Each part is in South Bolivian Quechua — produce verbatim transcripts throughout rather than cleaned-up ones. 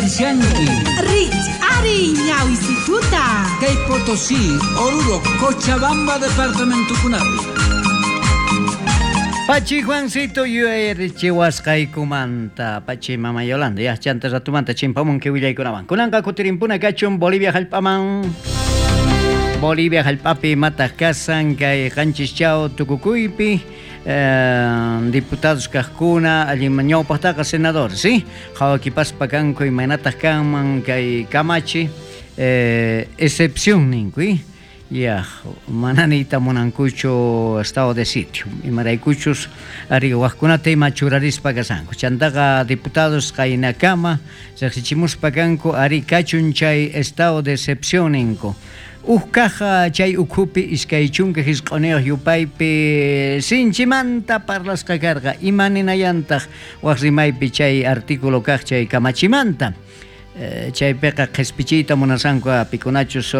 Uyarishanki. Rich ari ñawisituta. Kay Potosí, Oruro, Cochabamba departamentokunapi. Pachi Juancito yuyarichiwasqaykumanta Pachi Mama Yolanda ya chanta ratumanta chimpamunki willaykunawan kunanqa kutirimpuna kachun Bolivia hallp'aman Bolivia hallp'api imataq kasan kay qanchis chaw tukukuypi eh, diputados kaqkuna allin ñawpaqtaqa senadores ¿sí? Qhawakipaspa kanku imaynataq kanman kay kamachi eh, excepción ninku ¿eh? Ya, mana niyta munankuchu estado de sitio. Imaraykuchus ari wajkunata ima churarispa kasanku. Chantaqa diputados qaynakama riqsichimuspa kanku ari kachun chay estado de excepción ninku. Uj kaja chay ukhupi iskay chunka hisq'uniyuq yupaypi sinchimanta parlasqa karqa. Ima ninayantaq waj rimaypi chay artículo kaq chay kamachimanta. Eh, chaypiqa qhispichiyta munasanku pikunachus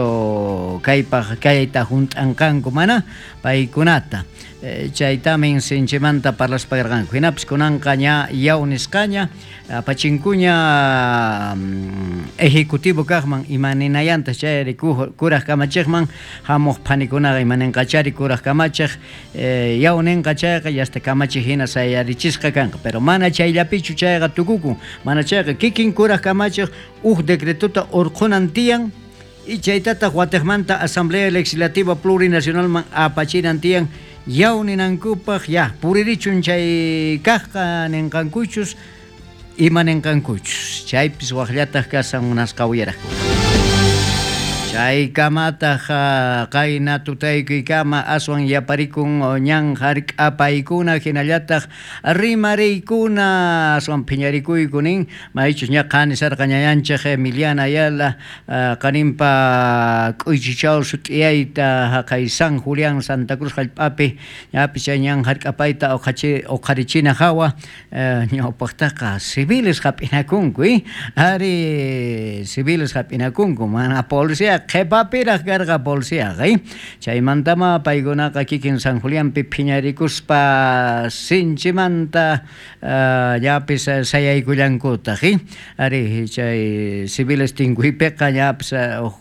kaypaq kayta hunt'anqanku mana paykunata eh, chaytamin sinchimanta parlaspa karqanku hinapis kunanqa ña yaw nisqaña apachinkuña mm, ejecutivo kaqman ima ninayantaq chayri kuraq kamachiqman hamuq phanikunaqa ima ninqachari kuraq kamachiq eh, yaw ninqa chayqa yasta kamachiq hina sayarichisqa kanqa pero mana chayllapichu chayqa tukukun mana chayqa kikin kuraq kamachiq uj decretota urqhunan tiyan y chaytataq watiqmanta Asamblea Legislativa Plurinacionalman apachinan tiyan yaw ninankupaq ya puririchun chay kaqqa ninqankuchus ima ninqankuchus chaypis waqllataq kasan munasqa uyaraqkuna. Chaykamataq qayna tutaykuykama aswan yaparikun ñan hark'apaykuna hinallataq rimariykuna aswan phiñarikuyku nin maychus ña qanisarqa ñayanchik Emiliana Ayala qaninpa k'uychichaw sut'iyayta haqay San Julián Santa Cruz hallp'api ñapis chay ñan hark'apayta uqharichina hawa ñawpaqtaqa civiles hap'inakunku eh ari civiles hap'inakunku mana policía qhipapiraq karqa policiaqa eh chaymantama paykunaqa kikin San Julianpi phiñarikuspa sinchimanta llapis sayaykullankutaq eh ari chay civiles tinkuypiqa llapis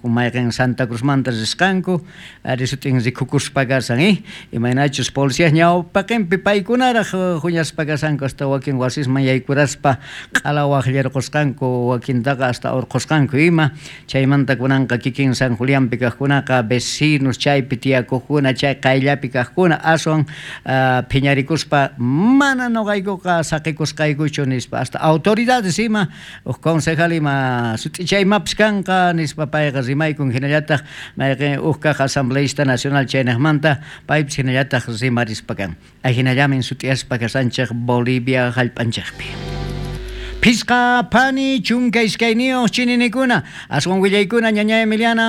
mayqin Santa Cruzmanta risqanku ari sutin rikukuspa kasan eh imaynachus policías ñawpaqinpi paykunaraq huñaspa kasanku hasta wakin wasisman yaykuraspa q'ala waqllarqusqanku wakintaqa hasta urqusqanku ima chaymanta kunanqa kikin San Julianpi kaqkunaqa vecinos chaypi tiyakuqkuna chay qayllapi kaqkuna aswan uh, phiñarikuspa mana nuqaykuqa saqikusqaykuchu nispa hasta autoridades ima uj concejal ima sut'ichaymapis kanqa nispa payqa rimaykun hinallataq mayqin uj kaq asambleísta nacional chaynaqmanta paypis hinallataq rimarispa kan ajinallamin sut'iyaspa kasanchik Bolivia hallp'anchikpi. Pisqa phani chunka iskayniyuq chininikuna aswan willaykuna ñaña Emiliana.